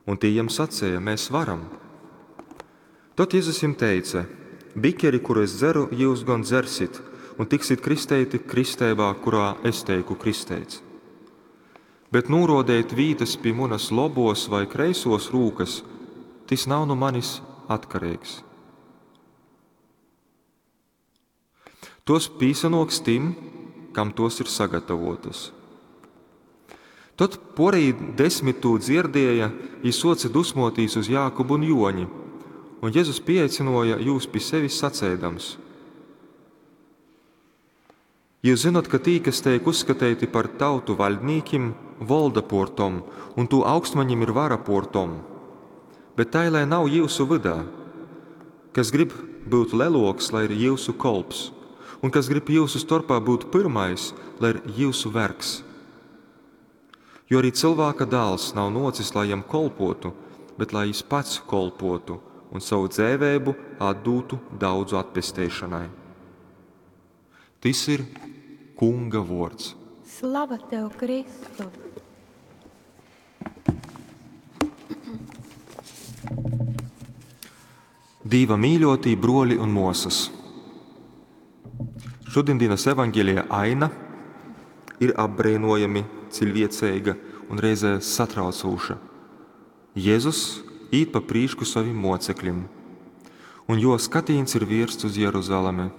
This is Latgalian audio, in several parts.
Un tī jam saceja: Mēs varam. Tod Jezus jim teice: Bikeri, kuru es dzeru, jyus gon dzersit, un tiksit kristeiti kristeibā, kurā es teiku kristeits. Bet nūrōdeit vītas pi munas lobōs vai kreisōs rūkas, tys nav nu manis atkareigs. Tos pīsanōks tim, kam tos ir sagatavotas. Tod porejī 10 tū dzierdieja, jī suoce dusmuotīs uz Jākubu un Juoņi, un Jezus pieaicynuoja jūs pi sevis saceidams: Jius zynot, ka tī, kas teik uzskateiti par tautu vaļdnīkim, volda puor tom, un tū augstmaņim ir vara puor tom. Bet tai lai nav jiusu vydā. Kas grib byut leluoks, lai ir jiusu kolps, un kas grib jiusu storpā byut pyrmais, lai ir jiusu vergs. Jo arī Cylvāka dāls nav nuocis, lai jam kolpuotu, bet lai jis pats kolpuotu un sovu dzeiveibu atdūtu daudzu atpesteišonai. Tys ir Kunga vuords. Slava tev, Kristu! Dīva mīļotī bruoli un muosys. Šodienas evaņgelija aina ir apbreinojami ciļvieceiga un reizē satraucoša. Jezus īt pa prīšku sovim mocekļim, un jo skatīns ir viersts uz Jeruzalemi.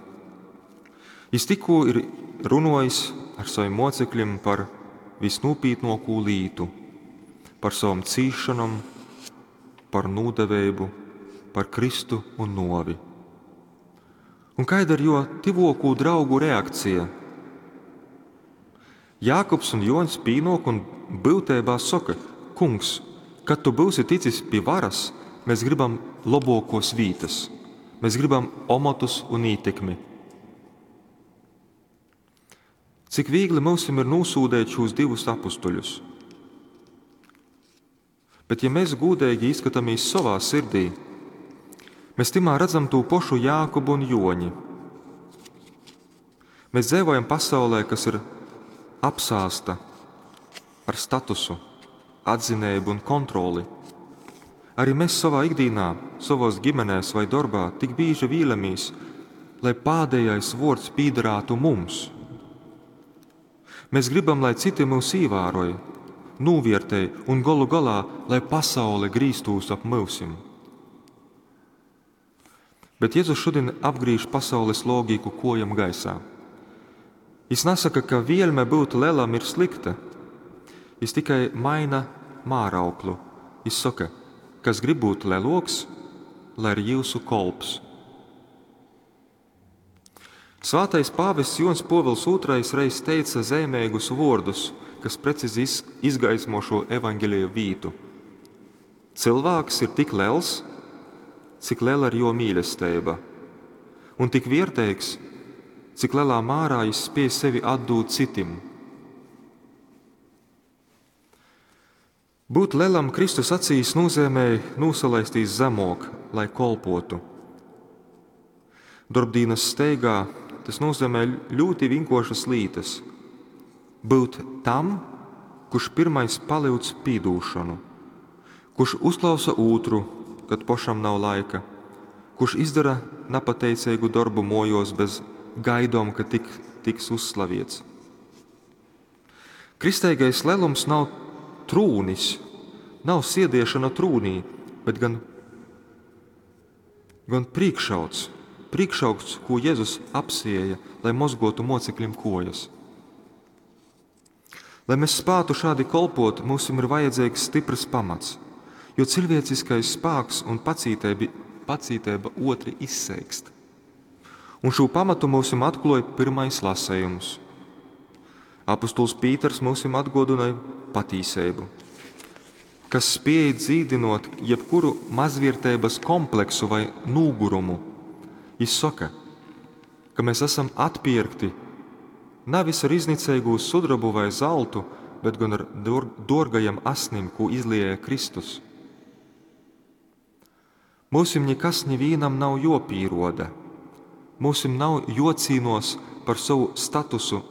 Jis tikkū ir runojis ar saviem mocekļiem par visnūpītnāko lītu, par savam cīšanom, par nūdeveibu, par Kristu un novi. Un kāda ir jo tivokū draugu reakcija? Jākubs un Joņs pīnok un būtībā saka: Kungs, kad tu būsi ticis pie varas, mēs gribam labākos vītas, mēs gribam omotus un ietekmi. Cik viegli mums ir nosūdēt šos divus apustuļus. Bet ja mēs gudīgi izskatāmies savā sirdī, mēs timā redzam to pašu Jākubu un Joņi. Mēs dzīvojam pasaulē, kas ir apsāsta ar statusu, atzinību un kontroli. Arī mēs savā ikdienā, savos ģimenēs vai darbā tik bieži vīlamies, lai pēdējais vārds pīdarātu mums. Mēs gribam, lai citi mūs ievēroja, novērtē un galu galā, lai pasaule grīztūs ap mūsim. Bet Jēzus šodien apgriež pasaules logiku kojam gaisā. Jis nesaka, ka vielme būt lielam ir slikta. Jis tikai maina mārauklu. Jis saka, kas grib būt leloks, lai ir jūsu kolps. Svētais pāvests Jons Povils II reiz teica zīmīgus vārdus, kas precīzi izgaismo šo evaņģēlija vītu. Cilvēks ir tik liels, cik liela ir jo mīlestība, un tik vērtīgs, cik lielā mērā jis spēj sevi atdūt citim. Būt lielam Kristus acīs nozīmē nosalaistīs zemok, lai kolpotu. Darbdīnas steigā tas nozīmē ļoti vienkāršas lietas. Būt tam, kurš pirmais palīdz pīdūšanu, kurš uzklausa otru, kad pašam nav laika, kurš izdara nepateicīgu darbu mojos bez gaidom, ka tiks uzslavēts. Kristīgais lielums nav trūnis, nav siediešana trūnī, bet gan priekšauts, priekšaugsts, ko Jēzus apsieja, lai mozgotu mocekļiem kojas. Lai mēs spētu šādi kolpot, mums ir vajadzīgs stiprs pamats, jo cilvēciskais spēks un pacītība otri izseikst. Un šo pamatu mums atklāja pirmais lasējums. Apostols Pīters mums atgodināja patīsību, kas spēj dzīdinot jebkuru mazvērtības kompleksu vai nūgurumu. Viņš saka, ka mēs esam atpirkti nevis ar iznicīgu sudrabu vai zeltu, bet gan ar dārgajiem asnim, ko izlieja Kristus. Mūsim nekas nevienam nav jopīroda. Mūsim nav jocīnos par savu statusu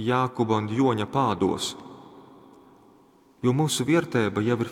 Jākuba un Joņa pādos, jo mūsu vērtība jau ir